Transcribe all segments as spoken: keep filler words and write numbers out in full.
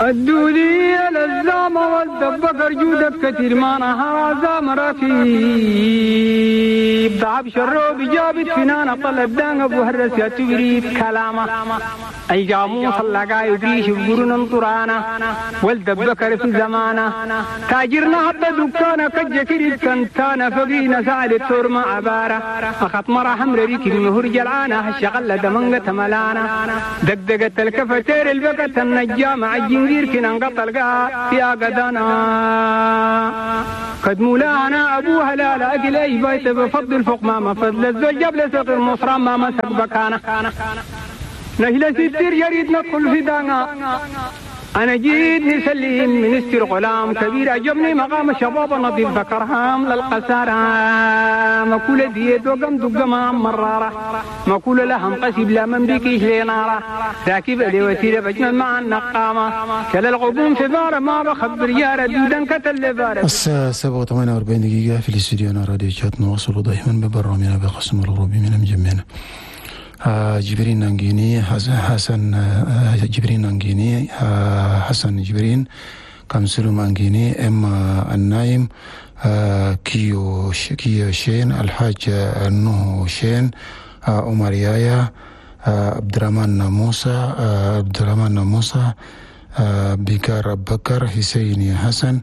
الدولية للزامة والدبكر جودك كتير ما نهار زام ركيب ضعب شروب جابت فنانة طلب دان أبو هرس يا تبريد كلامه أي جاموس اللقاي وبيش بقرن طرانا والدبكر في زمانه تاجرنا حتى دكانة كجكريد كنتانا فقينا سعد التور مع عبارة أخط مرة حمر ريك المهر جلعانة الشغلة دمنقة ملانا دقدقة الكفتير البقة النجام عجنجير كنا انقطع يا قدانا قد مولانا أبوها لا لا أكل أي بيت بفضل فوق ما فضل الزوج قبل صغير مصرا ما مسك بكانا نهلا ستير يريد ندخل في دانا أنا جيت نسلم منستر غلام كبير عجبني مقام الشباب نظيف ذكرهام للقسارة مكولة ديت وقم دقمام مرارة مكولة لهم قسيب لا من بيكيش لنارة راكب لي وسيلة بجمل مع النقامة كلا الغبون في بارة ما بخبر يارة دودا كتل بارة. الساعة سبعة وثمانية وأربعين دقيقة في الاستوديو راديو شات نواصل دائما ببرنامجنا بقسم الغروبي من مجمعنا. جبرين نانجيني حسن جبرين نانجيني حسن جبرين كامسلو مانجيني إما النايم كيو كيو شين الحاج نوه شين عمر يايا عبد الرحمن موسى عبد الرحمن موسى بكار بكر حسيني حسن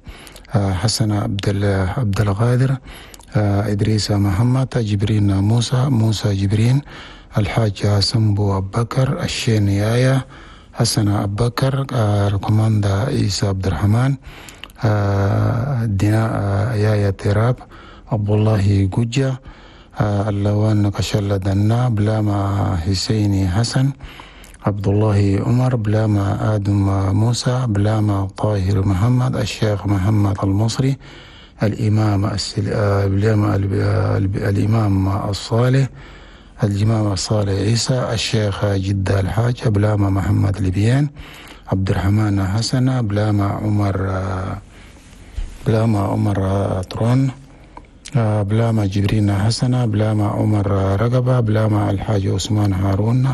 حسن عبد عبد القادر إدريس محمد جبرين موسى موسى جبرين الحاج سمبو أبو بكر الشين يايا حسن أبو بكر الكوماندا عيسى عبد الرحمن دينا يايا تراب عبد الله جوجا اللوان كشل دنا بلاما حسيني حسن عبد الله عمر بلاما آدم موسى بلاما طاهر محمد الشيخ محمد المصري الإمام السل... بلاما الإمام الصالح الإمام الصالح عيسى الشيخ جدة الحاج بلاما محمد لبيان عبد الرحمن حسن بلاما عمر بلاما عمر طرون بلاما جبرين حسن بلاما عمر رقبة بلاما الحاج عثمان هارون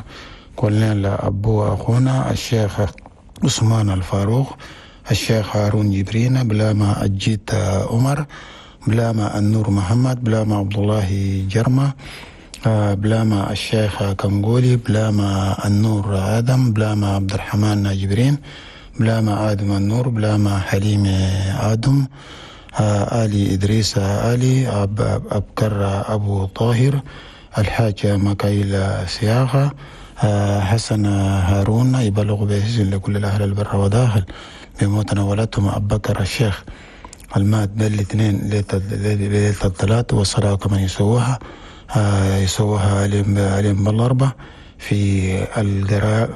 كلنا أبو أخونا الشيخ عثمان الفاروق الشيخ هارون جبرين بلاما أجيت عمر بلاما النور محمد بلاما عبد الله جرمة بلاما الشيخ كنغولي بلاما النور آدم بلاما عبد الرحمن جبرين بلاما آدم النور بلاما حليم آدم آلي إدريس آلي أب أبكر أبو طاهر الحاج مكايل سياغة حسن هارون يبلغ بإذن لكل الأهل البر وداخل بموتنا ولدتهم أبو بكر الشيخ المات بالاثنين ليلة الثلاث والصلاة كمان يسووها يسووها عليهم بالأربع في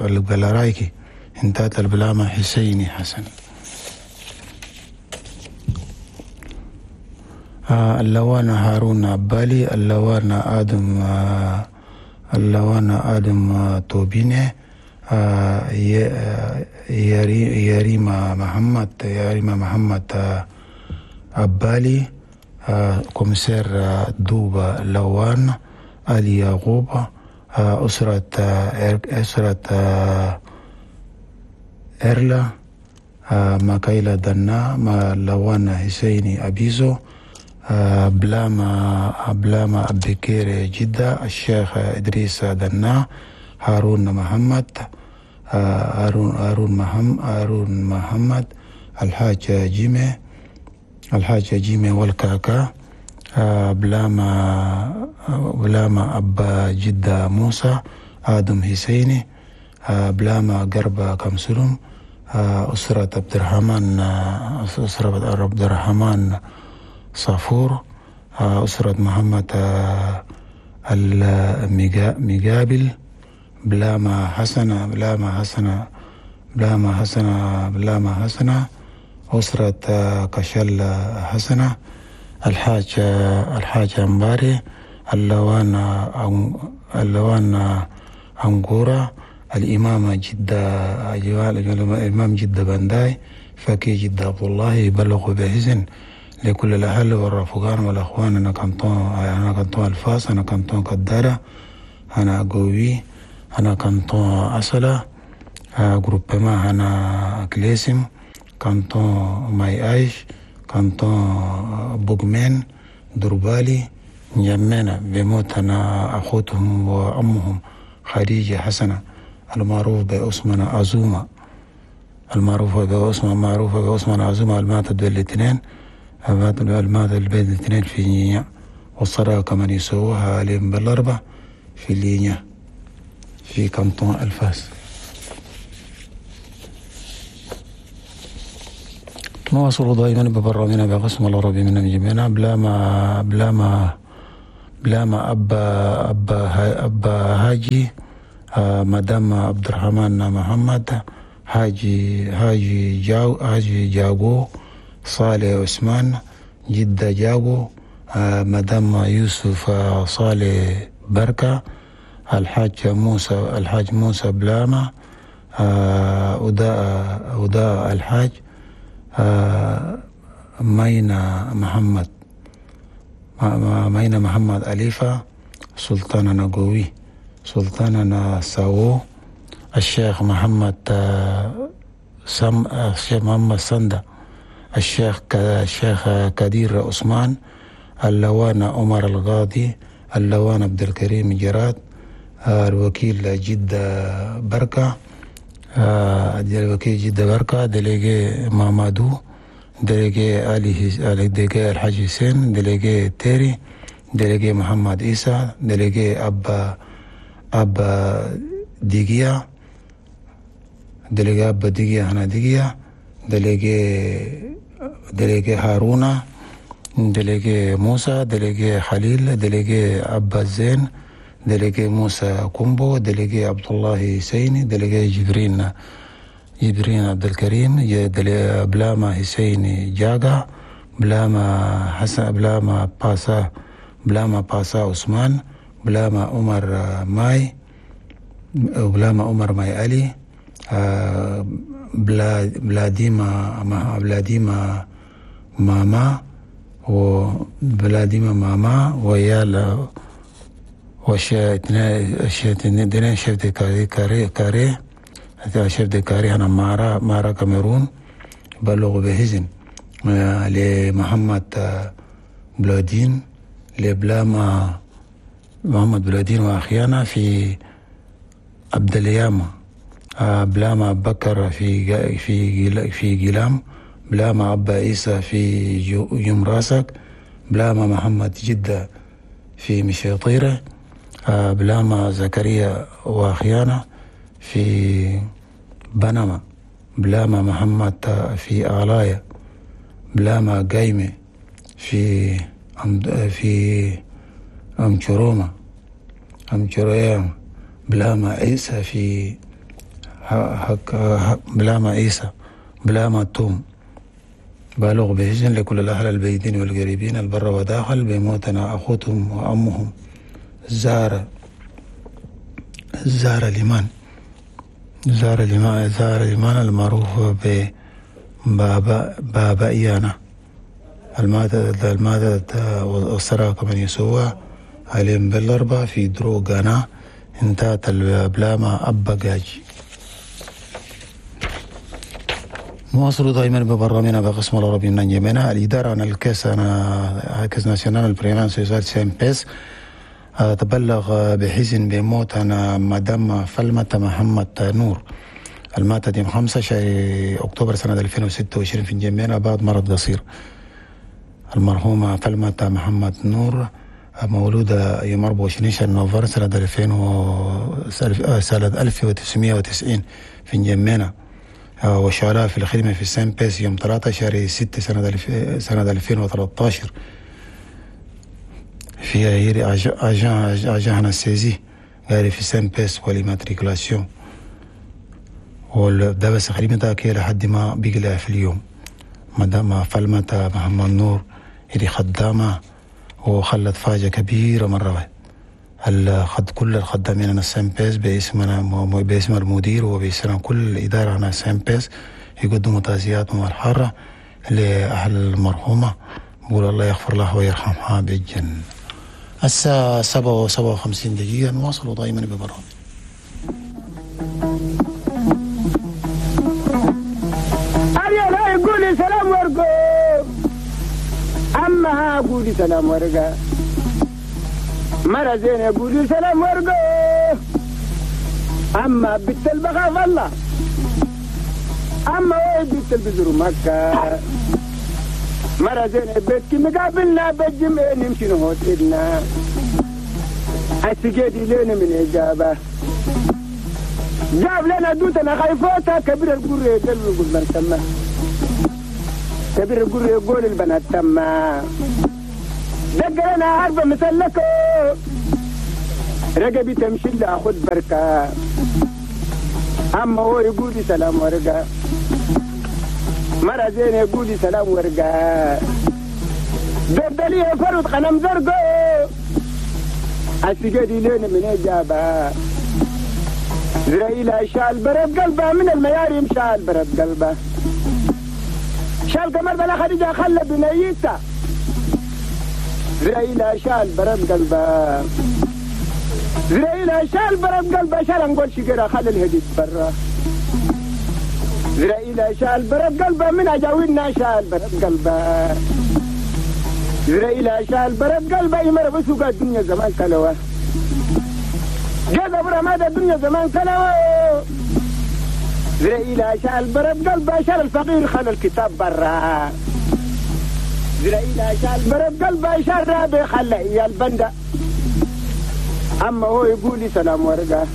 الجلارايكي انتهت البلامة حسيني حسن. اللوان هارون عبالي اللوان آدم اللوان آدم توبيني يريما محمد يريما محمد عبالي كوميسير دوبا لوان علي يعقوب أسرة أسرة إرلا ماكايلا دنا ما لوان حسيني أبيزو بلاما بلاما أبكير جدة الشيخ إدريس دنا هارون محمد هارون هارون محمد هارون محمد الحاج جيمي الحاج جيمي والكاكا بلاما بلاما أبا جدة موسى آدم حسيني بلاما قربة كمسلم أسرة عبد الرحمن أسرة عبد الرحمن صافور أسرة محمد المقابل بلاما حسنة بلاما حسنة بلاما حسنة بلاما حسنة أسرة كشل حسنة الحاج الحاج أمباري اللوان اللوان أنغورا الإمام جدة الإمام جدة بنداي فكي جدة عبد الله يبلغ بإذن لكل الأهل والرفقان والأخوان. أنا كنتون أنا كنتون الفاس أنا كنتون قدارة أنا قوي أنا كنتون أصلة groupement هنا كليسم canton ماي ايش canton بوغمين دربالي نجمينا بموت أنا أخوتهم وأمهم خديجة حسنة المعروف بأسمنا أزومة المعروفة بأسمة معروفة بأسمنا أزومة الماتت بالاثنين الماتت بالاثنين في نينيا والصلاة كمان يسووها عليهم بالأربع في لينيا في canton الفاس. نواصل دائما ببرامجنا بقسم العربي من جميعنا بلا ما بلا ما بلا ما أبا أبا أبا هاجي مدام عبد الرحمن محمد هاجي هاجي جاو هاجي جاغو صالح عثمان جدة جاغو مدام يوسف صالح بركة الحاج موسى الحاج موسى بلاما أداء أداء الحاج مينا محمد مينا محمد أليفة سلطانة نقوي سلطانة ساو الشيخ محمد سم الشيخ محمد سندا الشيخ الشيخ كدير عثمان اللوان عمر القاضي اللوان عبد الكريم جراد الوكيل جدة بركة الوكيل جدة بركة délégué مامادو délégué علي délégué الحاج حسين délégué تيري délégué محمد عيسى délégué أبا أبا ديجيا délégué أبا ديجيا هنا ديجيا délégué délégué هارونا délégué موسى délégué خليل délégué أبا زين délégué موسى كومبو délégué عبد الله سيني délégué جبرين جبرين عبد الكريم بلاما حسيني جاغا بلاما حسن بلاما باسا بلاما باسا عثمان بلاما عمر ماي بلاما عمر ماي علي بلا بلاديما بلاديما ماما وبلاديما ماما ويالا وش اثنين chef de carré carré carré chef de carré هنا مارا مارا كاميرون بلغ بهزن لمحمد بلادين لبلاما محمد بلادين واخيانا في عبد الياما بلاما بكر في في في جلام بلاما عبا عيسى في يمراسك بلاما محمد جدة في مشيطيرة بلاما زكريا واخيانا في بنما بلاما محمد في آلايا بلاما قايمة في في أمشروما أمشروما بلاما عيسى في بلاما عيسى بلاما توم. بالغ بهجن لكل الأهل البيدين والقريبين البر وداخل بموتنا أخوتهم وأمهم زارة زارة ليمان زارة ليمان زارة ليمان المعروف ببابا بابا إيانا المادة المادة والسراء كمان يسوى عليهم بالأربعة في درو غانا انتهت البلاما أبا جاجي. نواصل دائما ببرنامجنا بقسم العربي من جميعنا. الإدارة عن ال caisse أنا caisse nationale prélèvement sociale CNPS تبلغ بحزن بموت أنا مدام فلمة محمد نور الماتت يوم خمسة شهر أكتوبر سنة ألفين وستة وعشرين في جميعنا بعد مرض قصير. المرحومة فلمة محمد نور مولودة يوم أربعة وعشرين شهر نوفمبر سنة ألفين و سنة ألف وتسعمائة وتسعين في جميعنا وشغالة في الخدمة في ال CNPS يوم ثلاثة شهر ستة سنة الف... سنة ألفين وثلاثة عشر في هيري agent agent هنا saisie قال في CNPS و l'immatriculation وده بس خدمتها كي لحد ما بيقلع في اليوم. مدام فلمة محمد نور اللي خدامة وخلت فاجعة كبيرة مرة واحدة. الخد كل الخدامين أنا ال CNPS باسمنا باسم المدير وباسم كل الإدارة أنا ال CNPS يقدموا تعزياتهم الحارة لأهل المرحومة، بقول الله يغفر لها ويرحمها بالجنة. الساعة سبعة وسبعة وخمسين دقيقة نواصل دائما ببرامج. أما قولي سلام ورقة مرة زينة قولي سلام ورقة أما بنت البخاف الله أما وين بنت البزر مكة مرة زينة بيتك مقابلنا بالجمع نمشي نهوت إلنا السجادي لنا من إجابة جاب لنا دوتنا خايفوتا كبير القرية يقول من تما كبير القرية يقول البنات تما دق لنا عارفة مثلكو رقبي تمشي لا أخذ بركة أما هو يقول لي سلام ورقة مرة زينة يقول لي سلام ورقة دردلي فرد قنم زرقو السجادي لنا من إجابة زرائيل شال برد قلبه من المياريم شال برد قلبه شال قمر بلا خديجة خلى بنيته زرائيل شال برد قلبه زرائيل شال برد قلبه شال نقول شجرة خلى الهديد برا زرائيل شال برد قلبه من أجاوينا شال برد قلبه زرائيل شال برد قلبه يمر بسوق الدنيا زمان كلوه جذب رماد الدنيا زمان كلوه زرائيل شال برد قلبه شال الفقير خلى الكتاب برا زرائيل شال برد قلبه شال رابي خلى إيا البندة أما هو يقول لي سلام ورقة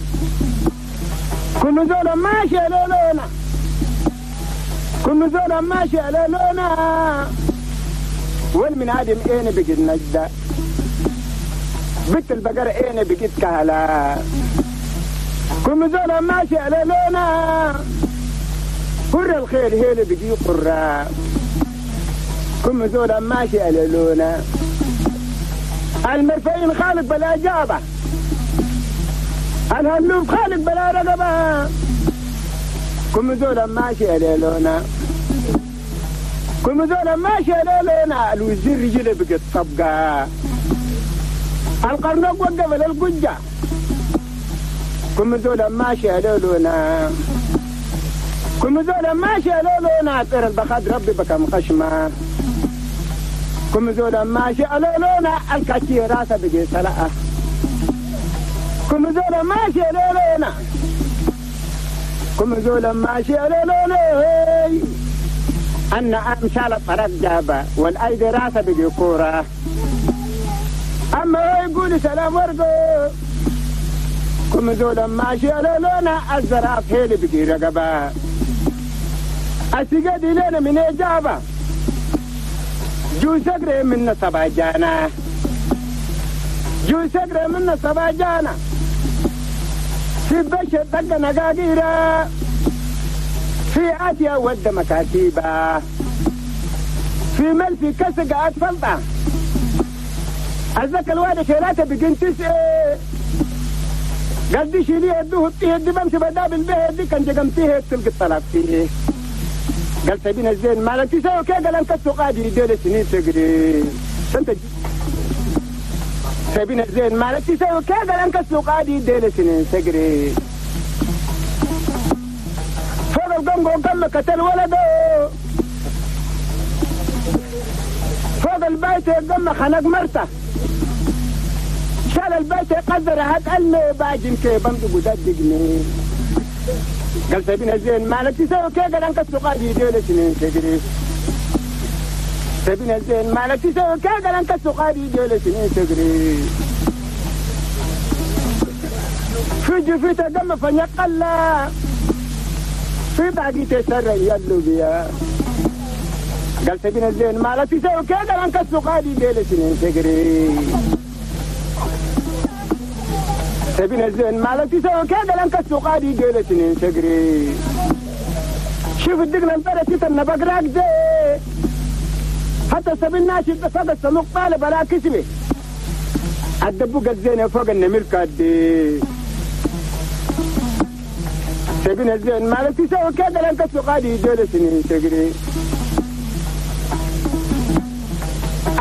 كل زولا ماشي على لونا كل زولا ماشي على لونا والمن عادم اين بقيت نجدة بنت البقرة اين بقيت كهلا كل زولا ماشي على لونا قر الخير هيل بقي قرة كل زولا ماشي على لونا المرفعين خالق بلا جابة الهلوف خالق بلا رقبة كل زولا ماشي على لونا كل زولا ماشي على لونا الوزير رجله بقت طبقة القرنق وقف للقجة كل زولا ماشي على لونا كل زولا ماشي على لونا طير البخاد ربي بكم خشمة كل زولا ماشي على لونا الكاتي راسه بقي سلقة كل زولا ماشي على لونا كل زولا ماشي على لونا أن أمشال الطرف جابة والأيدي راسه بقي كورة أما هو يقول سلام ورقو كل زولا ماشي على لونا الزراف هيلي بقي رقبة السجادي لنا من إجابة جو سقري من سبع جانا جو سقري من سبع جانا في بشر دق نقاقيرة في آتيا ود مكاتيبة في ملفي كسق أطفلطة الزكا الوالد شيلاته بقين تسعة قال دي شيليه يدوه يدي بمشي بدابل به يدي كان جقمتيه تلقى الطلاق فيه قال سبين الزين مالك تسوي كي قال انك قادي يديل سنين تقري انت سبين الزين مالك تسوي كي قال انك قادي يديل سنين تقري فوق القنقو قال قتل ولده فوق البيت قام خنق مرته شال البيت قدر هات قال باجن كي بمدق ودقني قال سبين الزين مالك تسوي كي قال انك قادي يديل سنين تقري سبين الزين مالك تسوي كي قال انك قادي يديل سنين تقري في جفيته قام فنقلا في باقي تسرى يلو بيا قال سبين الزين مالك تسوي كي قال انك قادي يديل سنين تقري سبين الزين مالك تسوي كي قال انك قادي يديل سنين تقري شوف الدقن البرة تتنى بقراك دي حتى سبين ناشد فوق السموق طالب بلا كسبي الدبوق الزينة فوق النمر كادي سبين الزين مالك تسوي كي قال انك قادي يديل سنين تقري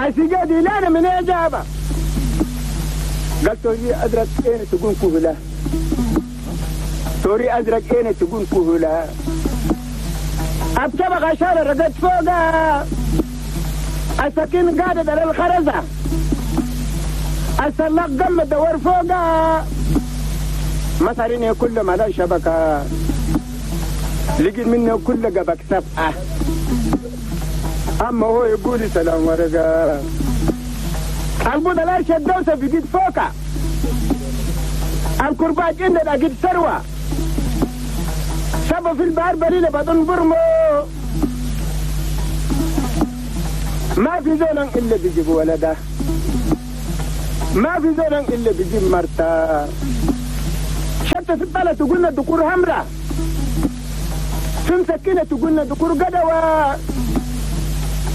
السجادي لا من إجابة قال توري أزرق إين تكون كهلة توري أزرق إين تكون كهلة أبتبغ عشان رقد فوقها السكين قاعدة على الخرزة السلاق قم الدور فوقها مصاريني كل ما لا شبكة لقيت منه كل قبك سبعة أما هو يقول سلام ورقة البودة لا شدوسة بقيت فوقها الكرباج إن أجد ثروة سبب في البحر بليلة بدون برمو ما في زول إلا بيجيب ولده ما في زول إلا بيجيب مرته شتى في البلد تقولنا دكور همرة في مسكينة تقولنا دكور قدوة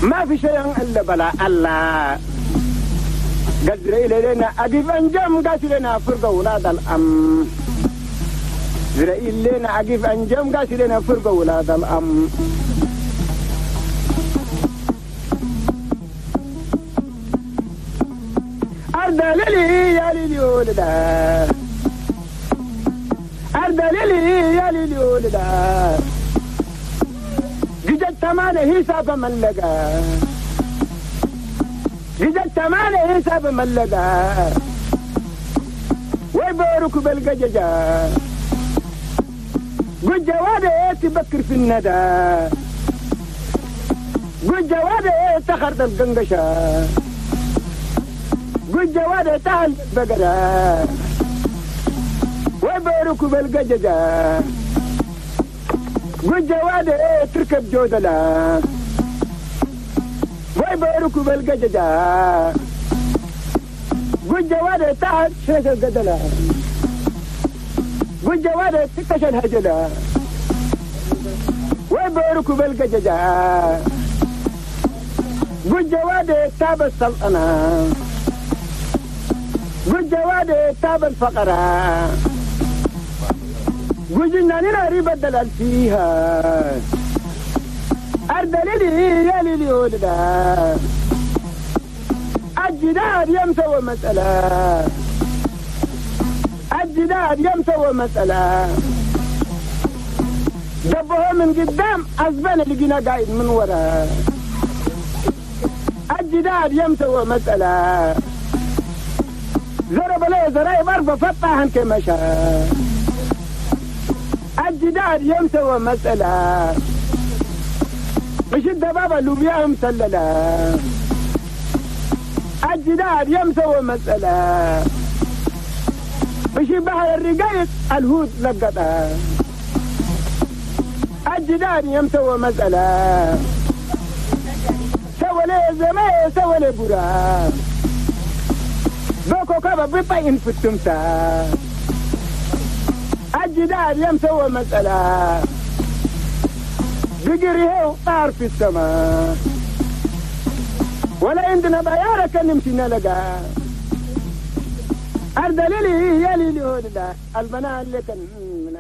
ما في شيء إلا بلا الله قدر إلينا أقف أنجم قاتل لنا فرقة ولاد الأم زرائيل لنا أقف أنجم قاتل لنا فرقة ولاد الأم أرض ليلي يا ليلي ولدا أرض ليلي يا ليلي ولدا جدت تمانة حساب من لقى جدت تمانة حساب من لقى ويبارك بالقججة قد جوادة تبكر في الندى قد جوادة تخرد القنقشة قد جوادة تهل بقرة ويبارك بالقججة قد جوادة تركب جودلة ويبارك بالقججة قد جوادة تهل شيش القدلة قد جوادة تكش الهجلة ويبارك بالقججة قد جوادة تاب السلطنة قد جوادة تاب الفقرة قد جناننا ريب الدلال فيها أرض ليلي يا ليلي ولدا الجدار يمسوى مسألة الجدار يمسوى مسألة دبوه من قدام أزبان لقينا قاعد من ورا الجدار يمسوى مسألة ضرب له زرايب أربع فتحن كما شاء الجدار يمسوى مسألة مش الدبابة اللوبيا مسللة الجدار يمسوى مسألة مش بحر الرقايق الهود لقطها الجدار يمسوى مسألة سوى لي زمان سوى لي برا بوكو كابا بيطين في التمساح الجدار يمسوى مسألة بقريه طار في السماء ولا عندنا بيارة كان نمشي نلقى أرض ليلي يا ليلي هولدا البنات اللي كان من